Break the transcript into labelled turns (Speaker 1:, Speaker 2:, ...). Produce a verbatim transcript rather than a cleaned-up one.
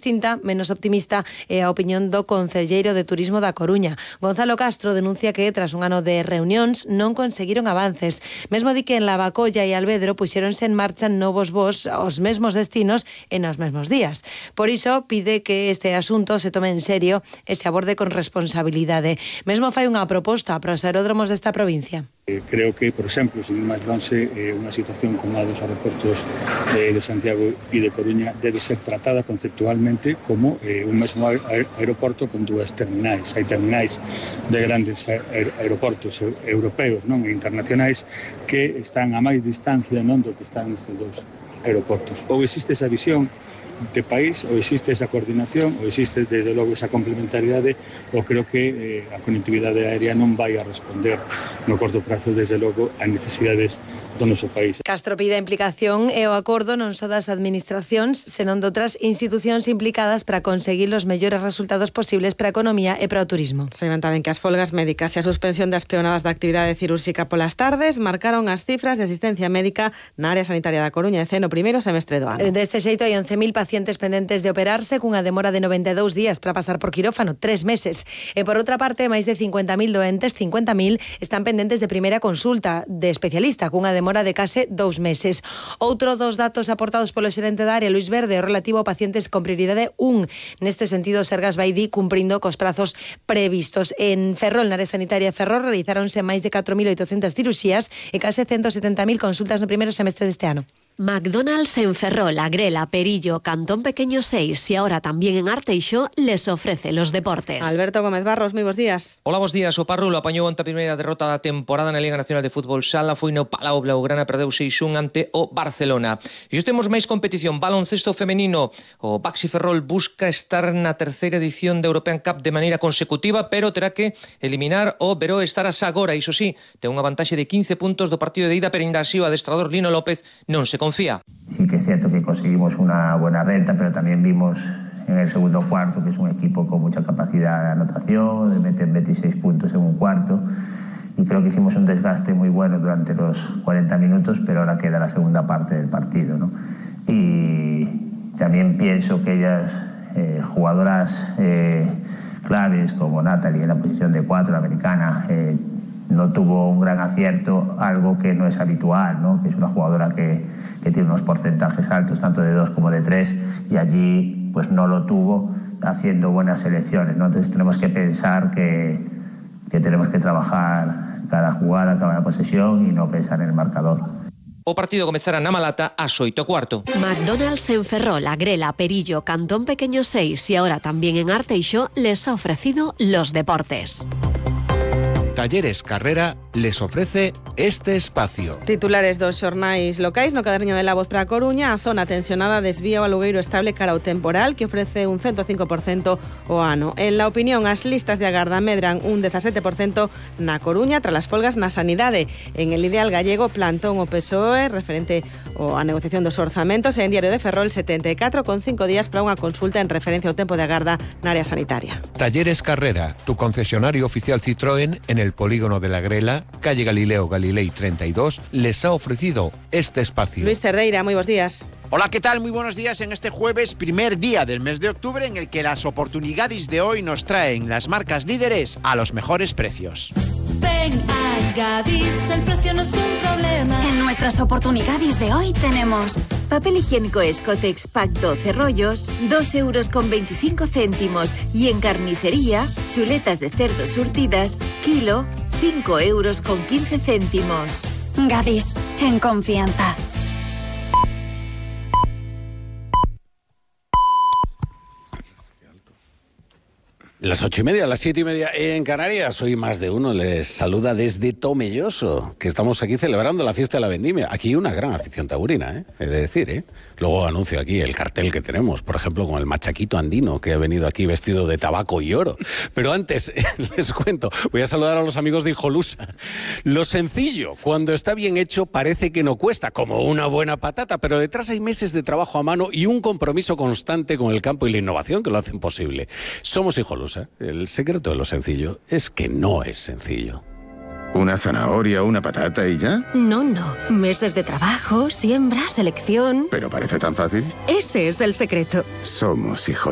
Speaker 1: Distinta, menos optimista é a opinión do concelleiro de Turismo da Coruña. Gonzalo Castro denuncia que tras un ano de reunións non conseguiron avances. Mesmo di que en Lavacolla e Alvedro puxéronse en marcha novos voos aos mesmos destinos e nos mesmos días. Por iso pide que este asunto se tome en serio e se aborde con responsabilidade. Mesmo fai unha proposta para os aeródromos desta provincia.
Speaker 2: Creo que, por exemplo, sin ir máis lonxe, eh, unha situación como a dos aeroportos eh, de Santiago e de Coruña debe ser tratada conceptualmente como eh, un mesmo aeroporto con dúas terminais. Hai terminais de grandes aer aeroportos europeos, non, e internacionais que están a máis distancia, non, do que están estes dous aeroportos. Ou existe esa visión de país, ou existe esa coordinación, ou existe desde logo esa complementariedade, ou creo que eh, a conectividade aérea non vai a responder no corto prazo desde logo a necesidades do noso país.
Speaker 1: Castro pide a implicación e o acordo non só das administracións, senón de outras institucións implicadas para conseguir os mellores resultados posibles para a economía e para o turismo.
Speaker 3: Saiban tamén que as folgas médicas e a suspensión das peonadas da actividade cirúrxica polas tardes marcaron as cifras de asistencia médica na área sanitaria da Coruña e no primeiro semestre do ano.
Speaker 1: Deste xeito hai once mil pacientes pendentes de operarse cunha demora de noventa e dous días para pasar por quirófano, tres meses. E por outra parte, máis de cincuenta mil doentes, cincuenta mil, están pendentes de primeira consulta de especialista cunha demora de case dous meses. Outro dos datos aportados polo xerente da área, Luis Verde, o relativo a pacientes con prioridade un. Neste sentido, Sergas vai di cumprindo cos prazos previstos. En Ferrol, na área sanitaria de Ferrol, realizáronse máis de catro mil oitocentas cirurxías e case ciento setenta mil consultas no primeiro semestre deste ano.
Speaker 4: McDonald's en Ferrol, Agrela, Perillo, Cantón Pequeño seis y ahora también en Arteixo les ofrece los deportes.
Speaker 3: Alberto Gómez Barros, moi bons días.
Speaker 5: Hola, bons días. O Parrulo apañou ante a primeira derrota da temporada na Liga Nacional de Fútbol Sala, foi no Palau Blaugrana, perdeu seis un ante o Barcelona. E hoxe temos máis competición, baloncesto femenino. O Baxi Ferrol busca estar na terceira edición da European Cup de maneira consecutiva, pero terá que eliminar o Veró Estaras agora. Iso sí, ten unha vantaxe de quince puntos do partido de ida, pero ainda así o adestrador Lino López non se confía.
Speaker 6: Sí que es cierto que conseguimos una buena renta, pero también vimos en el segundo cuarto que es un equipo con mucha capacidad de anotación, de meter veintiséis puntos en un cuarto, y creo que hicimos un desgaste muy bueno durante los cuarenta minutos, pero ahora queda la segunda parte del partido, ¿no? Y también pienso que ellas, eh, jugadoras eh, claves como Natalie en la posición de cuatro, la americana, eh, no tuvo un gran acierto, algo que no es habitual, ¿no? Que es una jugadora que, que tiene unos porcentajes altos, tanto de dos como de tres, y allí pues no lo tuvo haciendo buenas selecciones, ¿no? Entonces tenemos que pensar que, que tenemos que trabajar cada jugada, cada posesión y no pensar en el marcador.
Speaker 5: O partido comezará na Malata ás oito e cuarto.
Speaker 4: McDonald's en Ferrol, Agrela, Perillo, Cantón Pequeño seis y ahora también en Arteixo les ha ofrecido los deportes.
Speaker 7: Talleres Carrera les ofrece este espacio.
Speaker 3: Titulares dos xornais locais no caderniño de La Voz para a Coruña. A zona tensionada desvía o alugueiro estable cara ao temporal que ofrece un cento cinco por cento o ano. En La Opinión, as listas de agarda medran un dezasete por cento na Coruña tras as folgas na sanidade. En El Ideal Gallego, plantón o P S O E referente á negociación dos orzamentos e en Diario de Ferrol setenta e catro con cinco días para unha consulta en referencia ao tempo de agarda na área sanitaria.
Speaker 7: Talleres Carrera, tu concesionario oficial Citroën en el polígono de la Grela, calle Galileo Galilei treinta y dos, les ha ofrecido este espacio.
Speaker 3: Luis Cerdeira, muy buenos días.
Speaker 8: Hola, ¿qué tal? Muy buenos días en este jueves, primer día del mes de octubre, en el que las oportunidades de hoy nos traen las marcas líderes a los mejores precios.
Speaker 9: Ven a Gadis, el precio no es un problema. En nuestras oportunidades de hoy tenemos papel higiénico Escotex Pack doce rollos, dos euros con veinticinco céntimos. Y en carnicería, chuletas de cerdo surtidas, kilo, cinco euros con quince céntimos. Gadis, en confianza.
Speaker 10: Las ocho y media, las siete y media en Canarias. Hoy más de uno les saluda desde Tomelloso, que estamos aquí celebrando la fiesta de la vendimia. Aquí hay una gran afición taurina, ¿eh? He de decir, ¿eh? Luego anuncio aquí el cartel que tenemos, por ejemplo, con el machaquito andino, que ha venido aquí vestido de tabaco y oro. Pero antes, les cuento, voy a saludar a los amigos de Hijolusa. Lo sencillo, cuando está bien hecho, parece que no cuesta, como una buena patata, pero detrás hay meses de trabajo a mano y un compromiso constante con el campo y la innovación que lo hacen posible. Somos Hijolusa. El secreto de lo sencillo es que no es sencillo.
Speaker 11: ¿Una zanahoria, una patata y ya?
Speaker 12: No, no. Meses de trabajo, siembra, selección...
Speaker 11: ¿Pero parece tan fácil?
Speaker 12: Ese es el secreto.
Speaker 11: Somos Hijolusa.